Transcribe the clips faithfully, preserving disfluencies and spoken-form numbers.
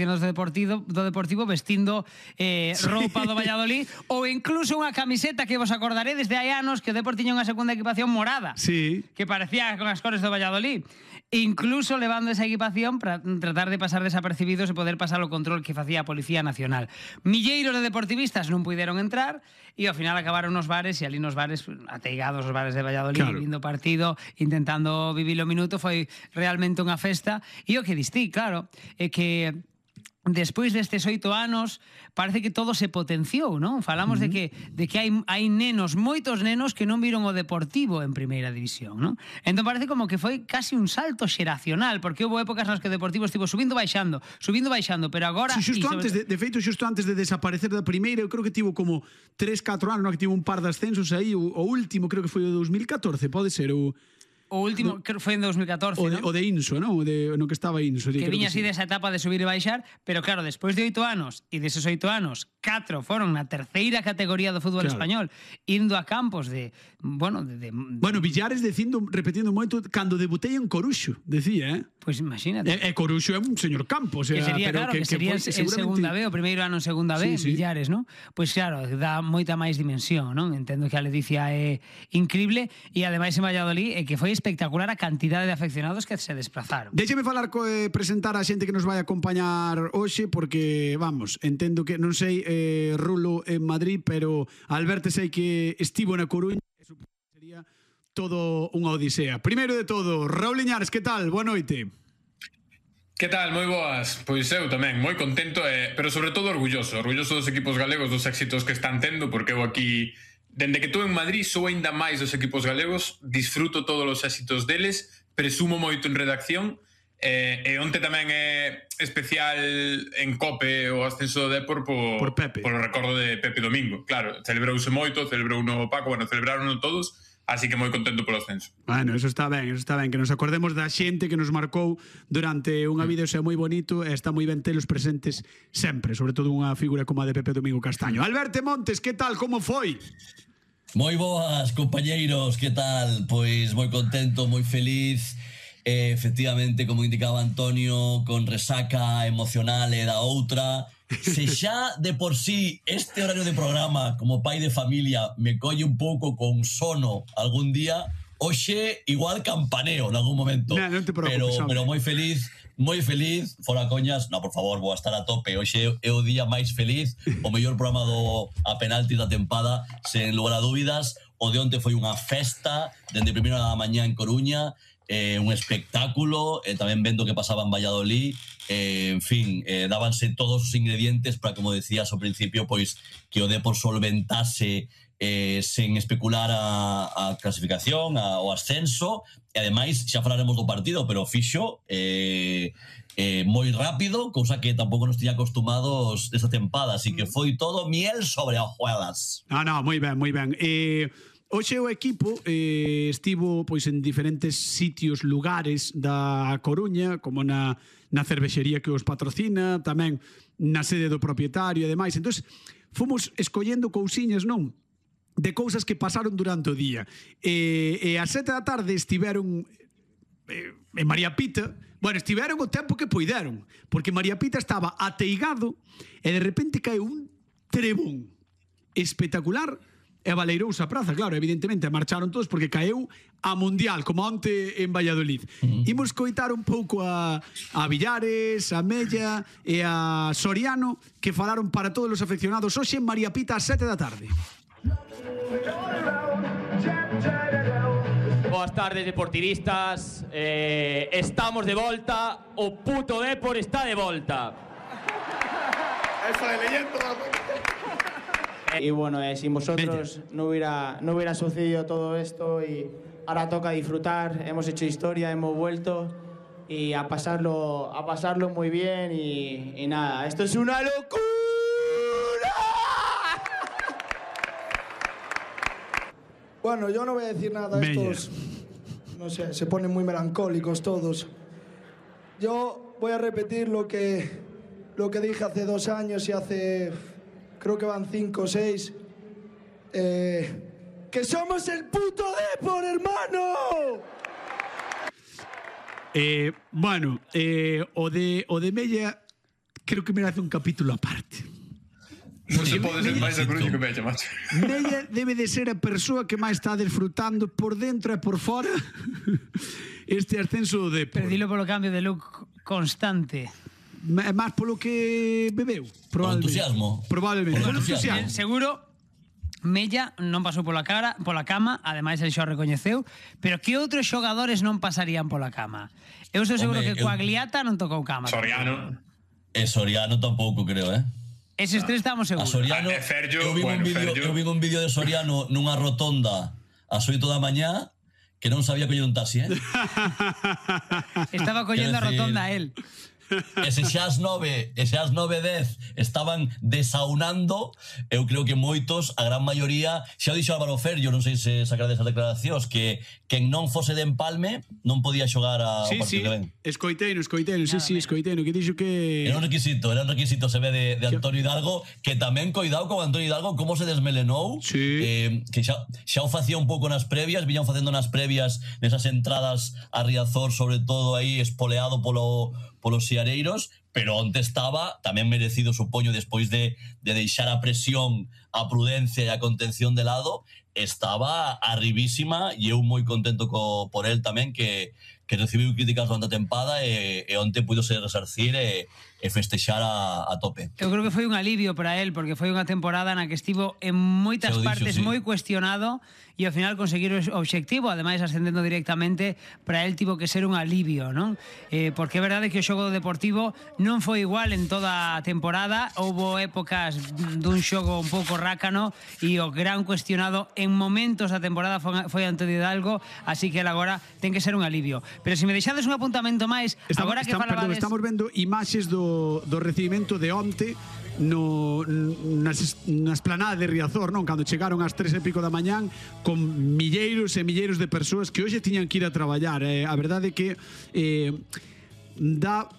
do Deportivo, do Deportivo vestindo eh, sí. roupa do Valladolid ou incluso unha camiseta que vos acordaredes de hai anos que o Depor tiña unha segunda equipación morada, sí. que parecía con as cores do Valladolid, incluso levando esa equipación para tratar de pasar desapercibidos e poder pasar o control que facía a Policía Nacional. Milleiros de deportivistas non puideron entrar e ao final acabaron nos bares e ali nos bares ateigados os bares de Valladolid, claro, vindo partido, intentando vivir o minuto. Foi realmente unha festa e o que distí, claro, é que despois destes oito anos parece que todo se potenciou, non? Falamos uh -huh. de que de que hai hai nenos, moitos nenos que non viron o Deportivo en primeira división, non? Entón parece como que foi casi un salto xeracional, porque houve épocas nas que o Deportivo estivo subindo baixando, subindo baixando, pero agora sí, xusto antes de, de feito xusto antes de desaparecer da primeira, eu creo que tivo como tres catro anos, non, que tivo un par de ascensos aí, o, o último creo que foi o dos mil catorce, pode ser o O último, no, creo que foi en dos mil catorce, o de, ¿no? O de Inso, non? O de, no que estaba Inso. Que viña así sí. desa etapa de subir e baixar, pero claro, despois de oito anos, e deses oito anos, catro foron na terceira categoría do fútbol claro. español, indo a campos de, bueno, de, de... Bueno, Villares dicindo, repetindo moito, cando debutei en Coruxo, decía, eh? Pois pues imagínate. E, e Coruxo é un señor campo, o sea, que sería, pero claro, que, que, que sería que en segunda B, o primeiro ano en segunda B, sí, sí. Villares, non? Pois pues claro, dá moita máis dimensión, non? Entendo que a ledicia é increíble e ademais en Valladolid é que foi espectacular a cantidade de afeccionados que se desplazaron. Déxeme falar co, eh, presentar a xente que nos vai acompañar hoxe, porque, vamos, entendo que, non sei, eh, Rulo en Madrid, pero Alberto sei que estivo na Coruña, eso sería todo unha odisea. Primeiro de todo, Raúl Liñares, que tal? Boa noite. Que tal? Moi boas. Pois eu tamén, moi contento, eh, pero sobre todo orgulloso, orgulloso dos equipos galegos, dos éxitos que están tendo, porque eu aquí, dende que estou en Madrid, sou aínda máis dos equipos galegos, disfruto todos os éxitos deles, presumo moito en redacción, eh, e onte tamén é especial en Cope o ascenso do Depor por, por Pepe, por o recordo de Pepe Domingo. Claro, celebrouse moito, celebrou no Paco, bueno, celebraron todos. Así que moi contento polo ascenso. Bueno, eso está ben, eso está ben, que nos acordemos da xente que nos marcou durante unha vida, xa moi bonito, e está moi ben telos presentes sempre, sobre todo unha figura como a de Pepe Domingo Castaño. Alberto Montes, que tal, como foi? Moi boas, compañeiros, que tal? Pois moi contento, moi feliz. Eh, efectivamente, como indicaba Antonio, con resaca emocional e da outra. Se xa de por sí este horario de programa como pai de familia me colle un pouco con sono algún día, hoxe igual campaneo en algún momento. No, non te preocupes, pero, pero moi feliz, moi feliz, fora coñas, no, por favor, vou a estar a tope. Hoxe é o día máis feliz, o mellor programa do a penalti da tempada, sen lugar a dúbidas. O de onte foi unha festa, dende primeira da mañá en Coruña, eh, un espectáculo, eh, tamén vendo que pasaba en Valladolid, eh, en fin, eh, dábanse todos os ingredientes para, como decías ao principio, pois que o Depor solventase eh, sen especular a, a clasificación, a, o ascenso, e ademais xa falaremos do partido, pero fixo eh, eh, moi rápido, cousa que tampouco nos tiña acostumados desta tempada, así que foi todo miel sobre hojuelas. Ah, no, moi ben, moi ben. Eh... Hoxe o equipo eh, estivo pois en diferentes sitios, lugares da Coruña, como na, na cervexería que os patrocina, tamén na sede do propietario e demais. Entón, fomos escollendo cousiñas, non? De cousas que pasaron durante o día. E, e a sete da tarde estiveron eh, en María Pita. Bueno, estiveron o tempo que poideron, porque María Pita estaba ateigado e de repente caeu un trebón espectacular. E baleirouse a praza, claro, evidentemente marcharon todos porque caeu a Mundial, como onte en Valladolid. Uh-huh. Imos coitar un pouco a, a Villares, a Mella e a Soriano, que falaron para todos os afeccionados hoxe en María Pita a sete da tarde. Boas tardes, deportivistas. Eh, estamos de volta. O puto Depor está de volta. Eso de leyendo. Y bueno, eh, sin vosotros no hubiera, no hubiera sucedido todo esto y ahora toca disfrutar. Hemos hecho historia, hemos vuelto y a pasarlo, a pasarlo muy bien y, y nada, esto es una locura. Bueno, yo no voy a decir nada, estos, no sé, se ponen muy melancólicos todos. Yo voy a repetir lo que, lo que dije hace dos años y hace... creo que van cinco o seis, eh, que somos el puto Depor, hermano. Eh, bueno, eh, o de o de Mella creo que merece un capítulo aparte. Non se pode ser máis a Coruña que Mella, macho. Mella debe de ser a persoa que máis está desfrutando por dentro e por fora este ascenso de Depor. Perdilo polo cambio de look constante. É máis polo que bebeu, probablemente. entusiasmo. Probablemente. Por Polo entusiasmo. entusiasmo. Seguro Mella non pasou pola cara, pola cama, ademais el xa o recoñeceu, pero que outros xogadores non pasarían pola cama? Eu estou seguro Home, que eu- Coagliata non tocou cama. Soriano. E Soriano tampouco, creo, eh? Eses tres estamos A seguros. Soriano, Ah, e Ferllo, eu vi bueno, un vídeo, Ferllo. eu vi un vídeo de Soriano nunha rotonda ás oito da mañá que non sabía coller un taxi, eh? Estaba collendo a Quero decir- rotonda a él. E se xa as nove, e se as nove dez estaban desaunando, eu creo que moitos, a gran maioría, xa o dixo Álvaro Ferllo, non sei se sacarades as declaracións, que quen non fose de Empalme non podía xogar a, Sí, o sí, partido que ven. escoiteino, escoiteino, sí, sí, escoiteino, que dixo que... Era un requisito, era un requisito, se ve, de, de Antonio Hidalgo, que tamén coidado con Antonio Hidalgo como se desmelenou, Sí. eh, que xa, xa o facía un pouco nas previas, viñan facendo nas previas nesas entradas a Riazor, sobre todo aí espoleado polo, polos siareiros, pero onte estaba, tamén merecido, supoño, despois de, de deixar a presión, a prudencia e a contención de lado, estaba arribísima e eu moi contento co, por el tamén, que, que recibiu críticas durante a tempada e, e onte puido ser resarcir e, e festexar a, a tope. Eu creo que foi un alivio para él, porque foi unha temporada na que estivo en moitas Xa o dixo, partes sí. moi cuestionado e ao final conseguir o obxectivo, ademais ascendendo directamente, para él tivo que ser un alivio, non? Eh, porque é verdade que o xogo deportivo non foi igual en toda a temporada, houbo épocas dun xogo un pouco rácano e o gran cuestionado en momentos da temporada foi, foi Antonio Hidalgo, así que él agora ten que ser un alivio. Pero se me deixades un apuntamento máis, Estamos, agora que estamos, perdón, falabades... estamos vendo imaxes do, do recibimento de onte no, nas, na esplanada de Riazor, non? Cando chegaron ás tres e pico da mañán con milleiros e milleiros de persoas que hoxe tiñan que ir a traballar. Eh, a verdade é que eh, dá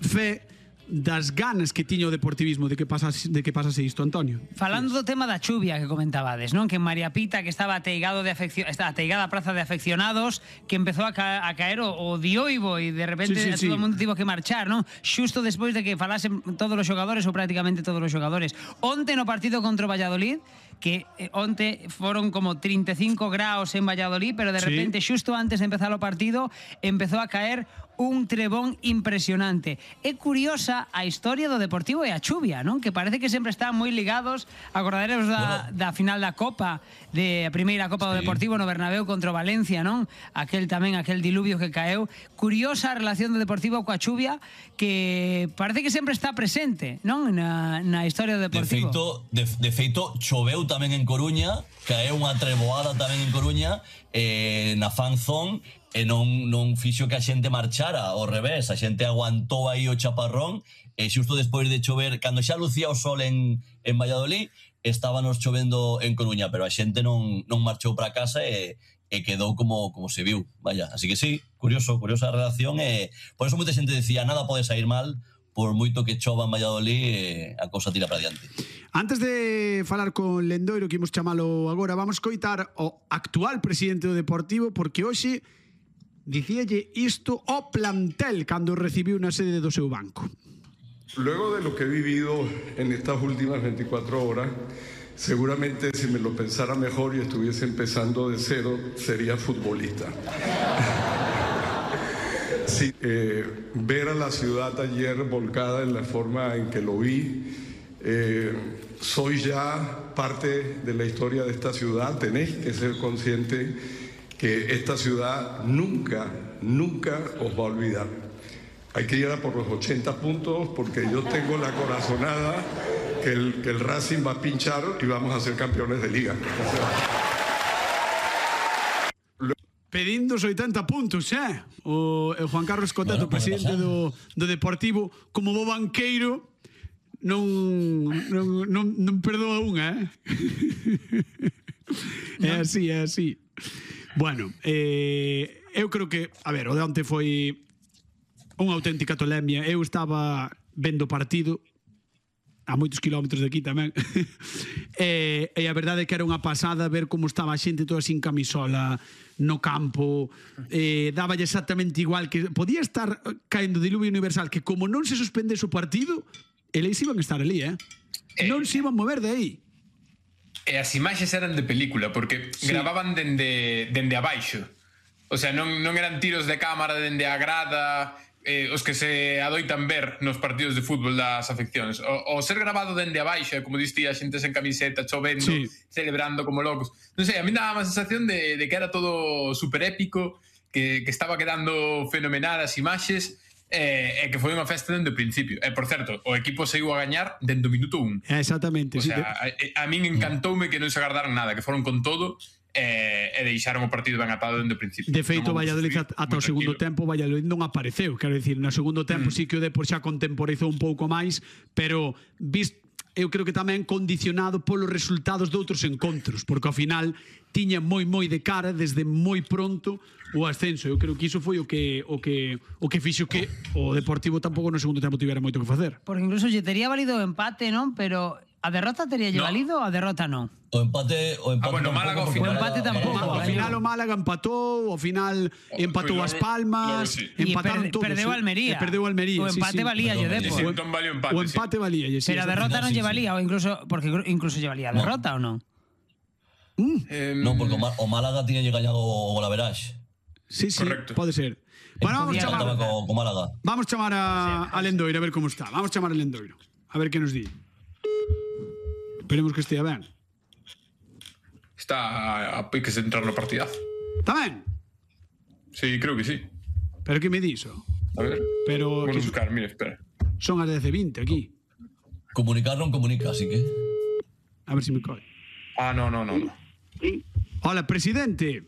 fe das ganas que tiña o deportivismo de que pasase, de que pasase isto, Antonio. Falando do tema da chuvia que comentabades, non? Que en María Pita, que estaba ateigado de afeccio... está ateigada a praza de afeccionados, que empezou a, ca... a caer o, o dioivo e de repente Sí, sí, sí. todo o mundo tivo que marchar, non? Xusto despois de que falasen todos os xogadores ou prácticamente todos os xogadores. Onte no partido contra o Valladolid, que eh, onte foron como trinta e cinco graus en Valladolid, pero de Sí. repente, xusto antes de empezar o partido, empezou a caer un trebón impresionante. É curiosa a historia do Deportivo e a chuvia, non? Que parece que sempre están moi ligados. Acordareros da, Bueno. da final da Copa, de a primeira Copa do Sí. Deportivo no Bernabéu contra o Valencia, non? Aquel tamén, aquel diluvio que caeu. Curiosa a relación do Deportivo coa chuvia, que parece que sempre está presente, non? Na, na historia do De Deportivo. feito, de, de feito, choveu tamén en Coruña, caeu unha treboada tamén en Coruña, eh, na fan zone, e non, non fixo que a xente marchara, ao revés, a xente aguantou aí o chaparrón, e xusto despois de chover, cando xa lucía o sol en, en Valladolid, estábanos chovendo en Coruña, pero a xente non, non marchou para casa e, e quedou como, como se viu, vaya. Así que sí, curioso, curiosa a relación, e por eso moita xente decía, nada pode sair mal, por moito que chova en Valladolid, eh, a cousa tira para diante. Antes de falar con Lendoiro, que imos chamalo agora, vamos coitar o actual presidente do Deportivo, porque hoxe dicíalle isto ao plantel cando recibiu na sede do seu banco. Luego de lo que he vivido en estas últimas veinticuatro horas, seguramente si me lo pensara mejor y estuviese empezando de cero, sería futbolista. Sí, eh, ver a la ciudad ayer volcada en la forma en que lo vi, eh, soy ya parte de la historia de esta ciudad, tenéis que ser conscientes que esta ciudad nunca, nunca os va a olvidar. Hay que ir a por los ochenta puntos porque yo tengo la corazonada que el, que el Racing va a pinchar y vamos a ser campeones de liga. O sea, Pedindo os oitenta puntos, eh? O, o Juan Carlos Coteto, Bueno, pode presidente pasar. do, do Deportivo, como bo banqueiro, non, non, non, non perdoa unha, eh? É así, é así. Bueno, eh, eu creo que, a ver, o de onte foi unha auténtica tolemia. Eu estaba vendo o partido a moitos kilómetros de aquí tamén. e, e a verdade é que era unha pasada ver como estaba a xente toda sin camisola no campo. Eh, dáballe exactamente igual, que podía estar caendo diluvio universal, que como non se suspendese o partido, eles iban a estar ali, eh? Non se iban mover de aí. E as imaxes eran de película, porque sí. gravaban dende, dende abaixo. O sea, non, non eran tiros de cámara dende a grada, eh, os que se adoitan ver nos partidos de fútbol das afeccións. O, o ser grabado dende abaixo, como diste, a xentes en camiseta, chovendo, sí. celebrando como locos. Non sei, a mí daba a sensación de, de que era todo super épico, que, que estaba quedando fenomenal as imaxes, e eh, que foi unha festa dende o principio. E, por certo, o equipo saiu a gañar dende o minuto un. Exactamente. O sea, sí, a, a min encantoume que non se agardaran nada, que foron con todo e, e deixaron o partido ben atado dende o principio. De feito, no Valladolid ata o segundo tempo Valladolid non apareceu, quero dicir, no segundo tempo mm. sí que o Depor xa contemporizou un pouco máis, pero visto eu creo que tamén condicionado polos resultados de outros encontros, porque ao final tiña moi moi de cara desde moi pronto o ascenso. Eu creo que iso foi o que o que o que fixo que o Deportivo tampouco no segundo tempo tivera moito que facer. Porque incluso lle tería valido o empate, non? Pero a derrota tería lle no. valido, a derrota non. O empate, o empate. Ah, bueno, Málaga ao final. O empate tampouco. Ao final o Málaga empatou, ao final empatou as Palmas, sí. empataron todos. Perdeu Almería. Perdeu Almería. O empate sí, sí. valía lle Depor. Sí, entón valía o empate. O empate sí. valía, sí. Pero a derrota non lle valía, ou incluso porque incluso lle valía a derrota ou non? Mm. Eh, non, porque o Málaga tiña lle gañado o Golaveraxe. Sí, sí, correcto. pode ser. Bueno, vamos a chamar co, co Málaga. Vamos a chamar a, a Lendoiro a ver como está. Vamos a chamar a Lendoiro a ver que nos di. Esperemos que estea ben. Está a piques de entrar no partidazo. Está ben? Sí, creo que sí. Pero que me diso? A ver. Pero vamos que a buscar, mira, espera. Son as dez e vinte aquí. Comunicar non comunica, así que... A ver se si me colle. Ah, no, no, no, no. Sí. Hola, presidente.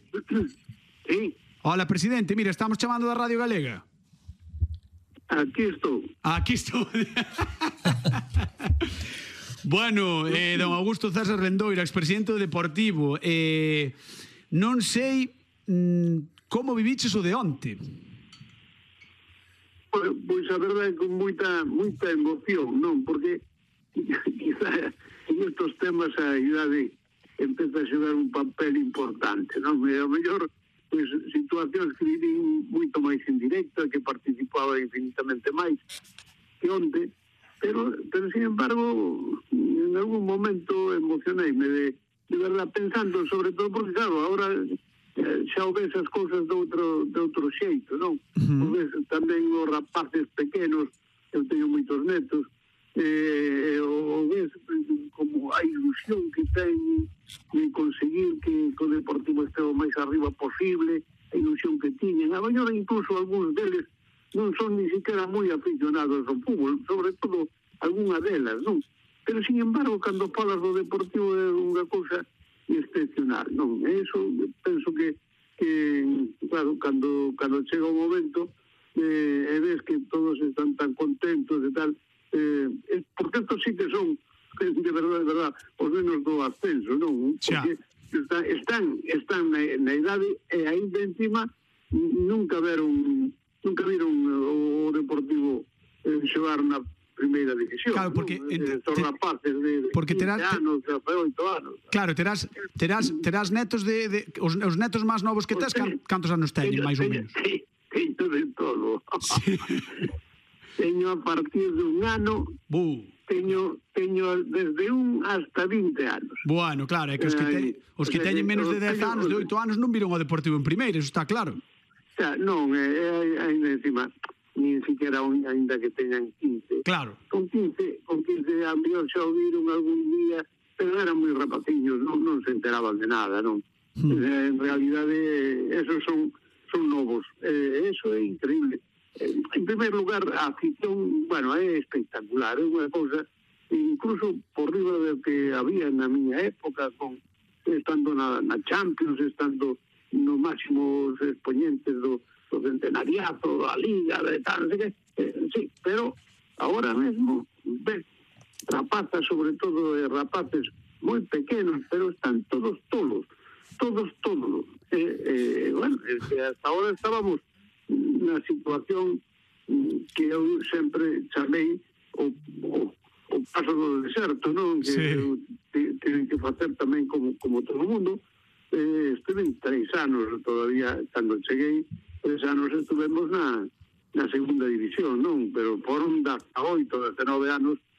Sí. Hola, presidente. Mira, estamos chamando da Radio Galega. Aquí estou. Aquí estou. Bueno, eh, don Augusto César Lendoiro, expresidente do Deportivo, eh, non sei mm, como viviches o de onte. Pois, pois a verdade é con moita moita emoción, non? Porque quizá en estos temas a idade empeza a xogar un papel importante, non? E ao mellor pois, situacións que vivín moito máis en directo, que participaba infinitamente máis que onte, pero, pero sin embargo en algún momento emocioneime de, de verdad pensando, sobre todo porque claro, ahora eh, xa o ves as cousas de outro, de outro xeito, non? Uh-huh. O ves tamén os rapaces pequenos, eu teño moitos netos, eh, o ves como a ilusión que ten de conseguir que, que o Deportivo este o máis arriba posible, a ilusión que tiñen, a maioría incluso algúns deles non son ni siquiera moi aficionados ao fútbol, sobre todo algunha delas, non? Pero, sin embargo, cando falas do Deportivo é unha cousa excepcional, non? E iso penso que, que claro, cando, cando chega o momento eh, e ves que todos están tan contentos e tal, eh, eh, porque estos sí que son, de verdade, de verdade, os menos do ascenso, non? Porque está, están, están na, na idade e ainda encima nunca veron nunca viron o Deportivo eh, xogar na primeira división. Claro, porque ¿no? eh, son rapaces de, de porque terás, quince anos, de oito anos. Claro, terás terás terás netos de, de os, os netos máis novos que tes, can, cantos anos teñen, máis ou menos? Sí, teño de todo. Sí. Teño a partir de un ano. Bu. Teño teño desde un hasta vinte anos. Bueno, claro, é que os que, te, os que teñen menos de dez anos, de oito anos non viron o Deportivo en primeira, eso está claro. Xa, non, é, é, ainda encima nin siquiera ainda que teñan quince. Claro. Con quince, con quince a mellor xa o viron algún día, pero eran moi rapaciños, non, non se enteraban de nada, non? Hmm. En realidade, esos son son novos. Eh, eso é increíble. Eh, en primer lugar, a afición, bueno, é espectacular, é unha cousa incluso por riba do que había na miña época, con estando na, na Champions, estando nos máximos exponentes do, do centenariato, da Liga, de tal, no sé que, eh, sí, pero ahora mesmo, ves, rapazas, sobre todo eh, rapaces moi pequenos, pero están todos tolos, todos todos. Eh, eh, bueno, es que hasta ahora estábamos na situación que eu sempre chamei o, o, o paso do deserto, non? Que sí. Tienen que facer tamén como, como todo o mundo. Eh, estuve tres anos todavía, cando cheguei, tres anos estuvemos na, na segunda división, non? Pero foron hasta oito, hasta nove anos